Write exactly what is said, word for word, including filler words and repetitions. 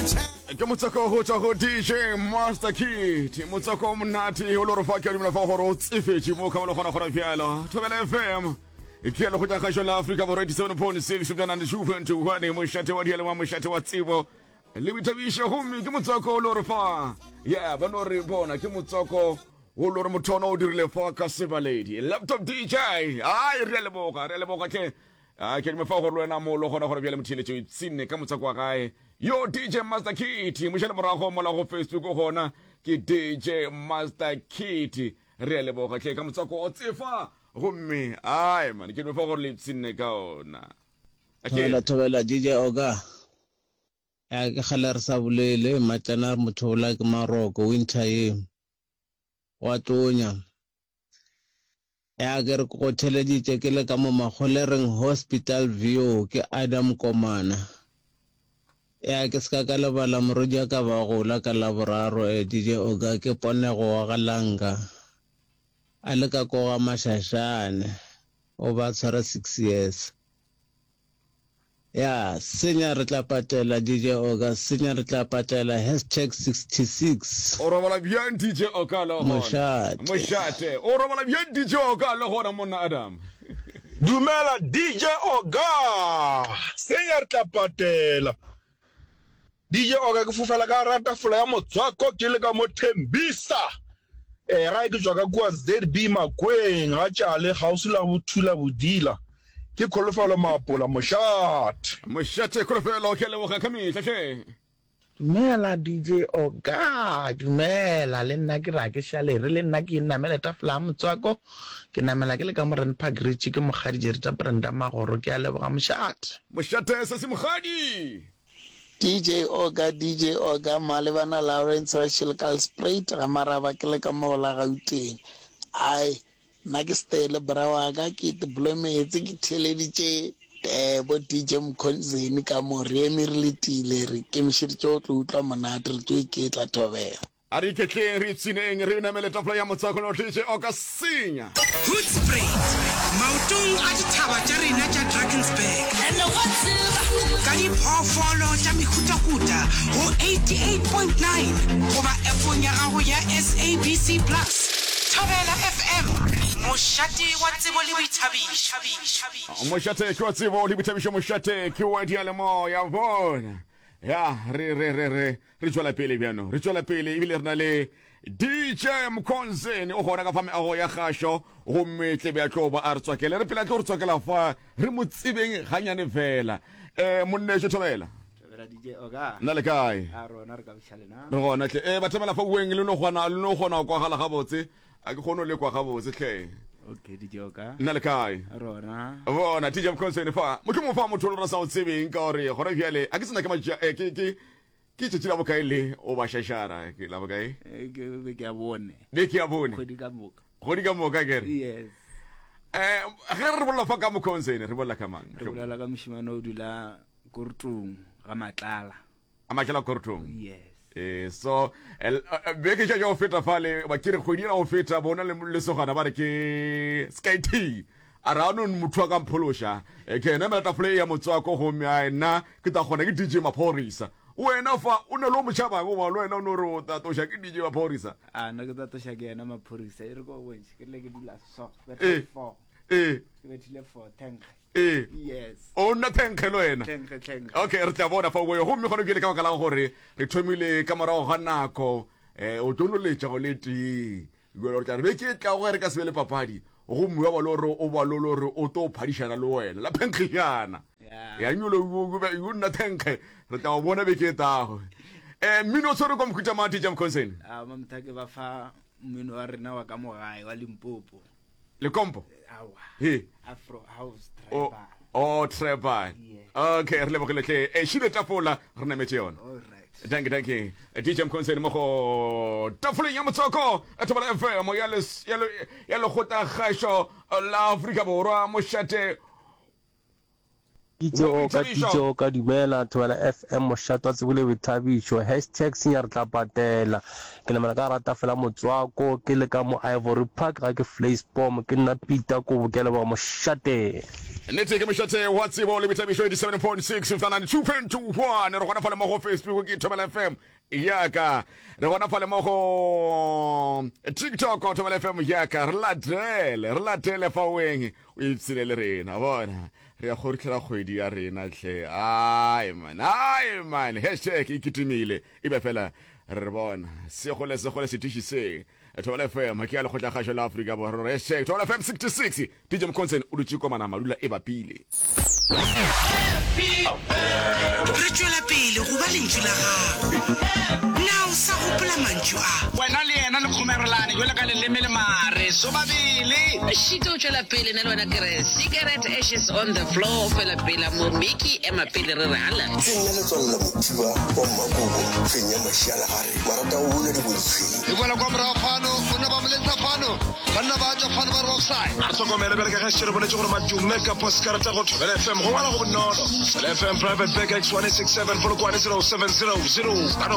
Ke motswako go tšwa go D J Master Kid, motswako o monate o le gore fa ke a dumela fa gore o tsefetše mo ka mo le gona gona bjalo. Thobela F M ke ya lekgotla kgašo la Afrika Borwa, eighty-seven point six ninety-two point one, mošate wa dialema, mošate wa tsebo le boithabišo. Gomme ke motswako o le gore fa ya ba no re bona ke motswako o le gore motho ona o dirile fa ka sebaledi laptop D J. Ai, re a leboga, re a leboga tle. A ke dime fa gore le wena mo le gona gore bjale motheeletšo ipshinne ka motswako wa gae yo D J Master Kit. Mošale morago mola go Facebook gona ke D J Master Kit. Re a leboga tle ka motswako o tsefa. Gomme ai man, ke dime fa gore le ipshinne ka ona. Thobela, thobela D J Oga. Ya ke kgale re sa bolele matlana re motho ola ke maroko winter ye. Wa tonya. Ya ke re go theleditše ke le ka mo Makgolereng Hospital View, ke Adam Komana. Ya ke se ka ka lebala morwedi ka ba gola ka Laboraro, eh D J Oga, ke Ponego wa Galanga. A le ka koga Mashashane. O ba tshwara six years. Ya senya re tla patela, D J Oga, senya re tla patela, hashtag sixty-six. O robala bjang D J Oka le gona? Mošate. Mošate. O robala bjang D J Oka le gona, monna Adam? Dumela D J Oga. Senya re tla patela. D J Oga, ke fofela ka rata fola ya motswako ke le ka mo Thembisa. Eh gae ke tšwa ka kua Z B Makweng ga tšale kgauswi la Bothula Bodila. Ke Kholofelo Mapola, mošate. Mošate Kholofelo, ke a leboga ka mehla hle. Dumela D J Oga, dumela le nna ke ra ke šalere le nna ke namele tafola ya motswako, ke namela ke le ka mo Randpark Ridge, ke Mokgadi Jerita Brenda Magoro, ke a leboga, mošate. Mošate se se Mokgadi. D J Oga, D J Oga, Malebana Lawrence wa Shilkalspruit ga Maraba, ke le ka mo la Gauteng. Ai, nna ke stele bra wa ka, ke iteblometse ke theleditše eh bo D J Mkhonzeni ka mo re eme re letile, re kemišeditše go tlo utlwa monate, re tlo iketla, thobela. A re iketleng, re ipshineng, re namele tafola ya motswako no D J Oka senya. Hoedspruit, maotong a dithaba tša rena tša Drakensberg, ka diphoofolo tša mehutahuta go eighty-eight point nine goba appong ya gago ya S A B C Plus. Thobela F M, mošate wa tsebo le boithabišo. Mošate ke wa tsebo le boithabišo, mošate ke wa dialemoya. Bona ya re re re re re tšwela pele bjano, re tšwela pele ebile re na le D J Mkhonzeni o gona ka fa meago ya kgašo, gomme tlebe ya tlo ba a re tswakele re pele a tlo re tswakela fa re mo tsebeng ganyane fela. um monnešo thobela. Thobela D J Oga. Nna le kae? A rona re ka boša lena. Re gona tle. um bathobela fa ueng le no kgona le no kgona go kwagala gabotse? A ke kgone go le kwa gabotse tle. Okay D J Oga. Nna le kae? Rona. Bona D J Mkhonzeni fa mohlomong fa motho o le re sa o tsebeng ka gore gona bjale a ke sena ke matša eh, ke ke ke tšatši la bokae le o ba šašara, ke la bokae? Eh, Ke be ke a bone. Beke ya bone. Kgwedi ka moka. Kgwedi ka moka kere. Yes. um ge re bolela fa ka Mkhonzeni, re bolela ka mang? Re bolela ka mošemane o dula Kortong ga Matlala. A Matlala Kortong? Yes. Eh, so eh, eh, beke tša go feta fale ba ke re kgwedi ela go feta bona le lesogana ba re ke Sky T a re ano motho a ka mphološa. Eh, ke ena mela tafole ya motswako, gomme a nna ke tla kgona ke D J Maphorisa. Wena fa o ne le o motšhabang goba le wena o no re o tatoša ke D J Maphorisa? A nna ke tatoša ke yena Maphorisa. E re ko bontšhe ke rile ke dula so. Eh. Ke four. Ee. Ke bethile four thank. Ee. Yes. O nna thenkge le wena? Thank thank. Okay, re tla bona fa o gomme gona bjale ka baka la gore re thomile ka morago ga nako, um o tlo noletša go le tee jale re tla re beke e tlago ge re ka se be le papadi, gomme wa ba le gore o ba le gore o tlo phadišana le wena la phenkgišana. Yeah. Ya nyolo o nna thenkge, re tla o bona beke e tago. um mmino o tshwere kwa mohuta mang, D J Mkhonzeni? A mamthake ba fa mmino wa rena wa ka mogae wa Limpopo. Lekompo? Awa. He. Afro house. O tribal. O tribal. Yeah. Okay, re lebogile tle. E šile tafola re nametse yona. All right. Thank you, thank you. D J Mkhonzeni mo go tafoleng ya motswako Thobela F M ya les- ya le- ya lekgotla kgašo la Afrika Borwa, mošate D J Oka, D J Oka dumela, Thobela F M mošate wa tsebo le boithabišo, hashtag senya re tla patela. Ke namela ka rata fela motswako, ke le ka mo Ivory Park ga ke Vleisboom, ke nna Peter Kobo, ke a leboga mošate. Nnete ke mošate wa tsebo le boithabišo eighty-seven point six ninety-two point one. Re gona fale mo go Facebook ke Thobela F M yaka, re gona fale mo go TikTok Thobela F M yaka. Re latele, re latele fa weng o ipshine le rena. Bona re ya kgoritlhela kgwedi ya rena hle. Ai man, ai man, hashtag e kitimile e be fela re bona segole segole setiši se Thobela F M ke ya lekgotlakgašo la Afrika Borwa. Hashtag Thobela F M sixty-six. D J Mconson o dutše komana madula e bapile. Re tšwela pele go ba lentšu la gago. Na o sa gopola mantšu a? Wena le yena le kgomerelane jwalo ka leleme le mare so babele. Šito o tšwela pele nna le wena ke re cigarette ashes on the floor fela pela mo Mickey ema pele re re ala. Ke nna Letswalo la Mothiba wa Mmakobo, fenya mašialagare, marata go buna diboditshweng. E boela kwa morago fano, banna ba moletsa fano, banna ba tšwa fano ba re offside. A re hlokomele bjale ka ge šetše re boletše gore madume ka poskarata go Thobela F M go ngwala go bonolo. Thobela F M Private Bag X one six seven Polokwane zero seven zero zero. Ba no